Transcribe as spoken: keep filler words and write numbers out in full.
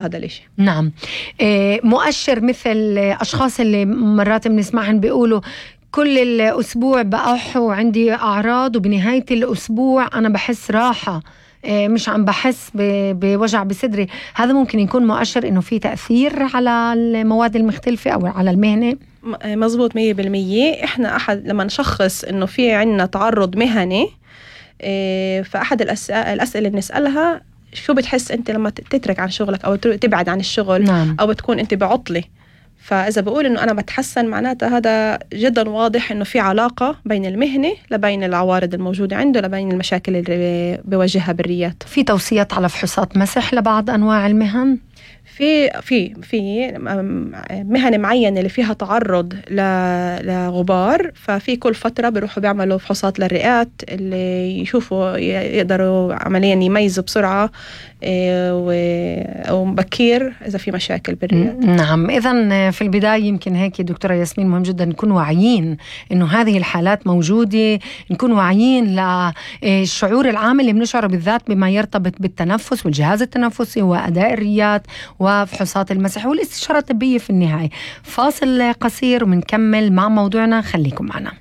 هذا الاشي. نعم. إيه مؤشر مثل أشخاص اللي مرات بنسمعهم بيقولوا كل الأسبوع بأح وعندي أعراض وبنهاية الأسبوع أنا بحس راحة، إيه مش عم بحس بوجع بصدري، هذا ممكن يكون مؤشر إنه في تأثير على المواد المختلفة أو على المهنة؟ مزبوط مية بالمية. إحنا أحد لما نشخص إنه في عنا تعرض مهني، إيه فأحد الأسئلة, الأسئلة اللي بنسألها شو بتحس أنت لما تترك عن شغلك أو تبعد عن الشغل؟ نعم. أو بتكون أنت بعطلة. فإذا بقول إنه أنا بتحسن معناتها هذا جدا واضح إنه في علاقة بين المهنة لبين العوارض الموجودة عنده لبين المشاكل اللي بيواجهها بالريات. في توصيات على فحوصات مسح لبعض أنواع المهن؟ في في في مهن معينة اللي فيها تعرض لغبار، ففي كل فترة بيروحوا بيعملوا فحوصات للرئات اللي يشوفوا يقدروا عمليا يميزوا بسرعة ومبكير إذا في مشاكل بالرئات. نعم. إذن في البداية يمكن هيك دكتورة ياسمين مهم جدا نكون واعيين إنه هذه الحالات موجودة، نكون واعيين للشعور العام اللي بنشعره بالذات بما يرتبط بالتنفس والجهاز التنفسي وأداء الريات وفحوصات المسح والاستشارة الطبية في النهاية. فاصل قصير ومنكمل مع موضوعنا، خليكم معنا.